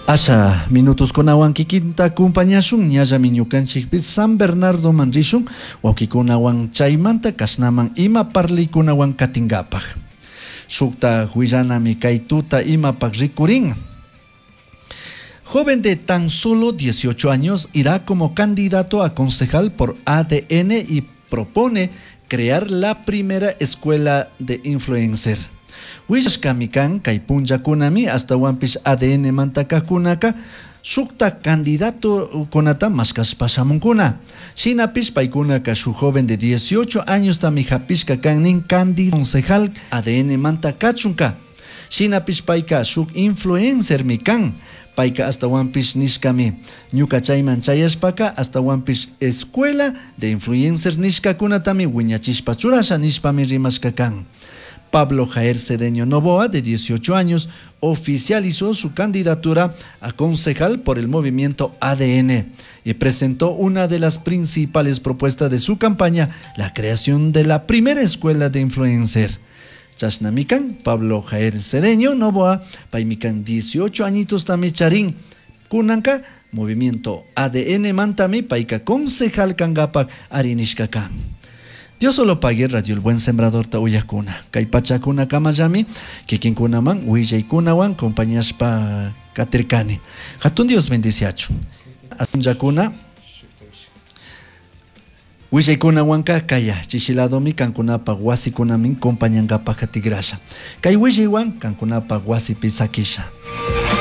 Asha minutoskunawan kikinta acompañashun ñallami ñukanchikpi San Bernardoman rishun wawkikunawan chaymanta kashnaman ima parlikunawan katinkapak. Shukta huillanami kay tuta imapak rikurin. Joven de tan solo 18 años irá como candidato a concejal por ADN y propone crear la primera escuela de influencer. Willashkami kan kay punllakunami ashtawanpish ADN mantakakunaka shukta candidatokunata mashkashpa shamunkuna. Shinapish paykunaka shuk joven de 18 años tami hapishka kan nin candidato concejal ADN manta kachunka. Shinapish payka shuk influencermi kan. Payka ashtawanpish nishkami ñuka chayman chayashpaka ashtawanpish escuela de influencer nishkakunatami wiñachishpa churasha nishpami rimashka kan. Pablo Jair Cedeño Novoa, de 18 años, oficializó su candidatura a concejal por el movimiento ADN y presentó una de las principales propuestas de su campaña, la creación de la primera escuela de influencer. Chashnami kan, Pablo Jair Cedeño Novoa, paymi kan 18 añitos tami charin, kunanka, movimiento ADN mantami payka concejal kangapak arinishka kan. Dios solo pague Radio El Buen Sembrador ta uyakuna. Kay pachakuna kamallami, kikinkunaman, willaykunawan, compañashpa katirkani. Hatun Dios bendiciachu. Atunllakuna, willaykunawanka kaya, chishiladomi kankunapa wasikunamin compañankapa katigrasha. Kay willaywan kankunapa wasipi sakisha.